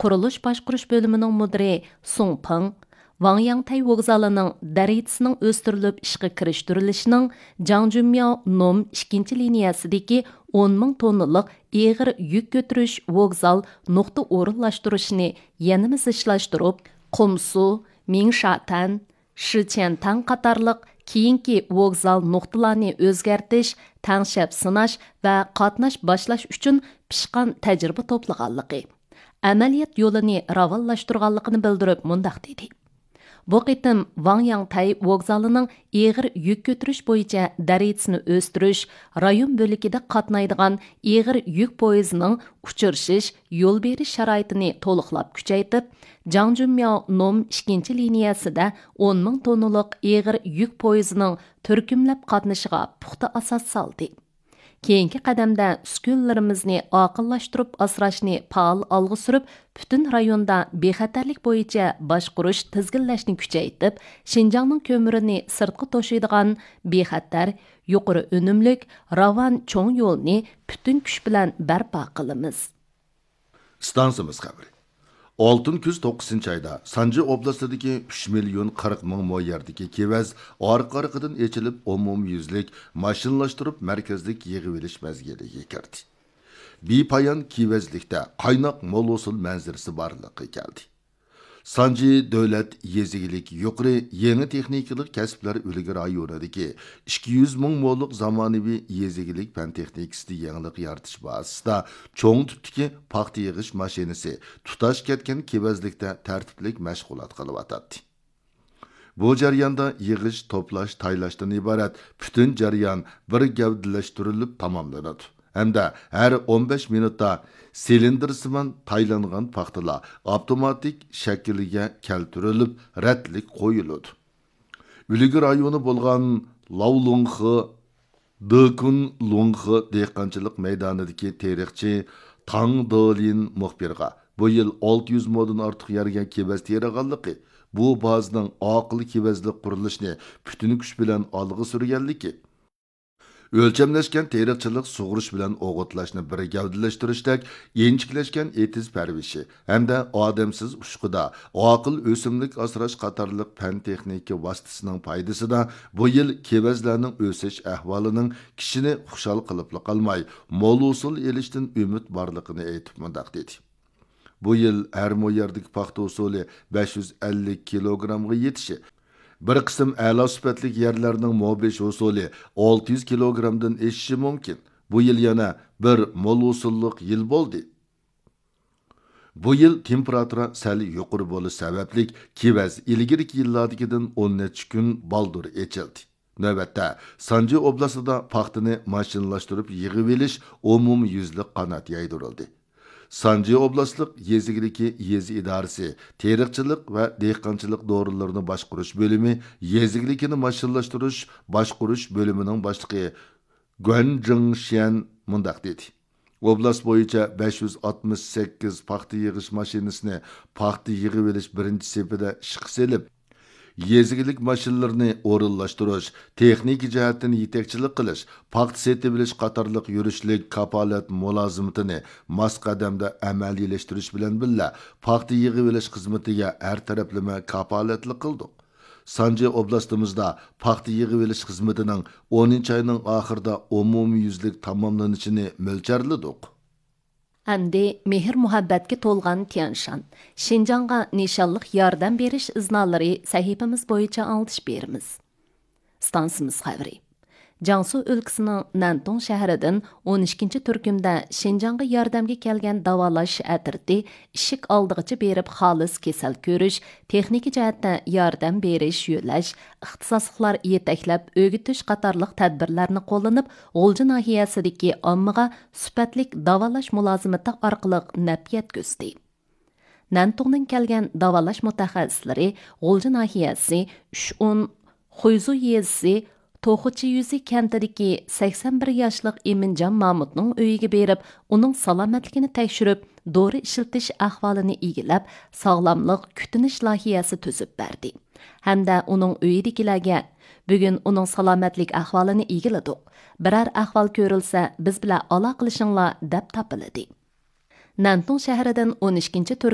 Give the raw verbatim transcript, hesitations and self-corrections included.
قۇرۇلۇش باشقۇرۇش بۆلۈمىنىڭ مۇدىرى سۇڭ پېڭ، ۋاڭياڭتەي ۋوگزالىنىڭ دەرىجىسىنىڭ ئۆستۈرۈلۈپ ئىشقا كىرىشتۈرۈلۈشىنىڭ جاڭجۈنمياۋ نوم ئىككىنچى لىنىيەسىدىكى ئون مىڭ توننىلىق ئېغىر يۈك كۆتۈرۈش ۋوگزال نۇقتا ئورۇنلاشتۇرۇشىنى يەنىمۇ زىچلاشتۇرۇپ، قۇمسۇ، مىڭشاتەن، شىچيەنتاڭ قاتارلىق كېيىنكى ۋوگزال نۇقتىلارنى ئۆزگەرتىش، تەڭشەپ سىناش ۋە قاتناش باشلاش ئۈچۈن پىشقان تەجرىبە توپلىغانلىقى، ئەمەلىيەت يولىنى راۋانلاشتۇرغانلىقىنى بىلدۈرۈپ مۇنداق دېدى: بۇ قېتىم ۋاڭ ياڭتەي ۋوگزالىنىڭ ئېغىر يۈك كۆتۈرۈش بويىچە دەرىجىسىنى ئۆستۈرۈش، رايون بۆلىكىدە قاتنايدىغان ئېغىر يۈك پويىزىنىڭ ئۇچرىشىش، يول بېرىش شارائىتىنى تولۇقلاپ كۈچەيتىپ، جاڭجۈنمياۋ نوم ئىككىنچى لىنىيەسىدە ئون مىڭ توننىلىق ئېغىر يۈك پويىزىنىڭ تۈركۈملەپ قاتنىشىغا پۇختا ئاساس سالدى. كېيىنكى قەدەمدە ئۈسكۈنىلىرىمىزنى ئاقىللاشتۇرۇپ ئاسراشنى پائال ئالغا سۈرۈپ، پۈتۈن رايوندا بىخەتەرلىك بويىچە باشقۇرۇش، تىزگىنلەشنى كۈچەيتىپ، شىنجاڭنىڭ كۆمۈرىنى سىرتقا توشۇيدىغان بىخەتەر، يۇقىرى ئۈنۈملۈك، راۋان چوڭ يولنى پۈتۈن كۈچ بىلەن بەرپا قىلىمىز. ئىستانسىمىز خەۋىرى. ئالتۇن كۈز توققۇزىنچى ئايدا سانجى ئوبلاستىدىكى ئۈچ مىليون قىرىق مىڭ مو يەردىكى كېۋەز ئارقا-ئارقىدىن ئېچىلىپ، ئومۇميۈزلۈك ماشىنىلاشتۇرۇپ مەركەزلىك يىغىۋېلىش مەزگىلىگە كىردى. بىپايان كېۋەزلىكتە قايناق مول ھوسۇل مەنزىرىسى بارلىققا كەلدى. سانجى دۆلەت يېزا ئىگىلىك يۇقىرى يېڭى تېخنىكىلىق كەسىپلەر ئۈلگە رايونىدىكى ئىككى يۈز مىڭ مولۇق زامانىۋى يېزا ئىگىلىك پەن تېخنىكىسىدا يېڭىلىق يارىتىش بازىسىدا چوڭ تىپتىكى پاختا يىغىش ماشىنىسى تۇتاش كەتكەن كېۋەزلىكتە تەرتىپلىك مەشغۇلات قىلىۋاتاتتى. بۇ جەرياندا يىغىش، توپلاش، تايلاشتىن ئىبارەت پۈتۈن جەريان بىر گەۋدىلەشتۈرۈلۈپ تاماملىنىدۇ ھەمدە ھەر ئون بەش مىنۇتتا سىلىندىرسىمان تايلانغان پاختىلار ئاپتوماتىك شەكىلگە كەلتۈرۈلۈپ، رەتلىك قويۇلىدۇ. ئۈلگە رايونى بولغان لاۋلۇڭخې، دېكۇن لۇڭخې دېھقانچىلىق مەيدانىدىكى تېرىقچى تاڭ دېلىن مۇخبىرغا بۇ يىل ئالتە يۈز مودىن ئارتۇق يەرگە كېۋەز تېرىغانلىقى، بۇ بازىنىڭ ئاقىل كېۋەزلىك قۇرۇلۇشىنى پۈتۈن كۈچ بىلەن ئالغا سۈرگەنلىكى، ئۆلچەملەشكەن تېرىقچىلىق، سۇغۇرۇش بىلەن ئوغۇتلاشنى بىر گەۋدىلەشتۈرۈشتەك ئىنچىكىلەشكەن ئېتىز پەرۋىشى ھەمدە ئادەمسىز ئۇچقۇدا ئاقىل ئۆسۈملۈك ئاسراش قاتارلىق پەن تېخنىكا ۋاسىتىسىنىڭ پايدىسىدا بۇ يىل كېۋەزلەرنىڭ ئۆسۈش ئەھۋالىنىڭ كىشىنى خۇشال قىلىپلا قالماي، مول ھوسۇل ئېلىشتىن ئۈمىد بارلىقىنى ئېيتىپ مۇنداق دېدى. بۇ يىل ھەر مو يەردىكى پاختا ھوسۇلى بەش يۈز ئەللىك كىلوگرامغا يېتىشى، بىر قىسىم ئەلا سۈپەتلىك يەرلەرنىڭ مو بېشى ھوسۇلى ئالتە يۈز كىلوگرامدىن ئېشىشى مۇمكىن. بۇ يىل يەنە بىر مول ھوسۇللۇق يىل بولدى. بۇ يىل تېمپېراتۇرا سەل يۇقىرى بولۇش سەۋەبلىك، كېۋەز ئىلگىرىكى يىللاردىكىدىن ئون نەچچە كۈن بالدۇر ئېچىلدى. نۆۋەتتە، سانجى ئوبلاستىدا پاختىنى ماشىنىلاشتۇرۇپ يىغىۋېلىش ئومۇميۈزلۈك قانات يايدۇرۇلدى. سانجى ئوبلاستلىق يېزا ئىگىلىكى يېزا ئىدارىسى تېرىقچىلىق ۋە دېھقانچىلىق دورىلىرىنى باشقۇرۇش بۆلۈمى يېزا ئىگىلىكىنى ماشىنىلاشتۇرۇش باشقۇرۇش بۆلۈمىنىڭ باشلىقى گۇەن جىڭشيەن مۇنداق دېدى: ئوبلاست بويىچە بەش يۈز ئاتمىش سەككىز پاختا يىغىش ماشىنىسىنى پاختا يىغىۋېلىش بىرىنچى سېپىدە ئىشقا سېلىپ، يېزا ئىگىلىك ماشىنىلىرىنى ئورۇنلاشتۇرۇش، تېخنىكا جەھەتتىن يېتەكچىلىك قىلىش، پاختا سېتىۋېلىش قاتارلىق يۈرۈشلۈك كاپالەت مۇلازىمىتىنى ماس قەدەمدە ئەمەلىيلەشتۈرۈش بىلەن بىللە، پاختا يىغىۋېلىش خىزمىتىگە ھەر تەرەپلىمە كاپالەتلىك قىلدۇق. سانجى ئوبلاستىمىزدا پاختا يىغىۋېلىش خىزمىتىنىڭ ئونىنچى ئاينىڭ ئاخىرىدا ئومۇميۈزلۈك تاماملىنىشىنى مۆلچەرلىدۇق. ئەمدى مېھىر-مۇھەببەتكە تولغان تيەنشان، شىنجاڭغا نىشانلىق ياردەم بېرىش ئىزنالىرى سەھىپىمىز بويىچە ئاڭلىتىش بېرىمىز. ئىستانسىمىز خەۋىرى. جياڭسۇ ئۆلكىسىنىڭ نەنتۇڭ شەھىرىدىن ئون ئىككىنچى تۈركۈمدە شىنجاڭغا ياردەمگە كەلگەن داۋالاش ئەترىتى ئىشىك ئالدىغىچە بېرىپ خالىس كېسەل كۆرۈش، تېخنىكا جەھەتتە ياردەم بېرىش، يۆلەش، ئىختىساسلىقلار يېتەكلەپ ئۆگىتىش قاتارلىق تەدبىرلەرنى قوللىنىپ، غۇلجا ناھىيەسىدىكى ئاممىغا سۈپەتلىك داۋالاش مۇلازىمىتى ئارقىلىق نەپ يەتكۈزدى. نەنتۇڭدىن كەلگەن داۋالاش مۇتەخەسسىسلىرى غۇلجا ناھىيەسى ئۈچ ئون خۇيزۇ يېزىسى توخۇچى يۈزى كەنتىدىكى سەكسەن بىر ياشلىق ئىمىنجان مامۇتنىڭ ئۆيىگە بېرىپ، ئۇنىڭ سالامەتلىكىنى تەكشۈرۈپ، دورا ئىشلىتىش ئەھۋالىنى ئىگىلەپ، ساغلاملىق كۈتۈنۈش لايىھەسى تۈزۈپ بەردى ھەمدە ئۇنىڭ ئۆيىدىكىلەرگە، بۈگۈن ئۇنىڭ سالامەتلىك ئەھۋالىنى ئىگىلىدۇق، بىرەر ئەھۋال كۆرۈلسە، بىز بىلەن ئالاقىلىشىڭلار، دەپ تاپىلىدى. نەنتۇڭ شەھىرىدىن ئون ئىككىنچى تۈركۈم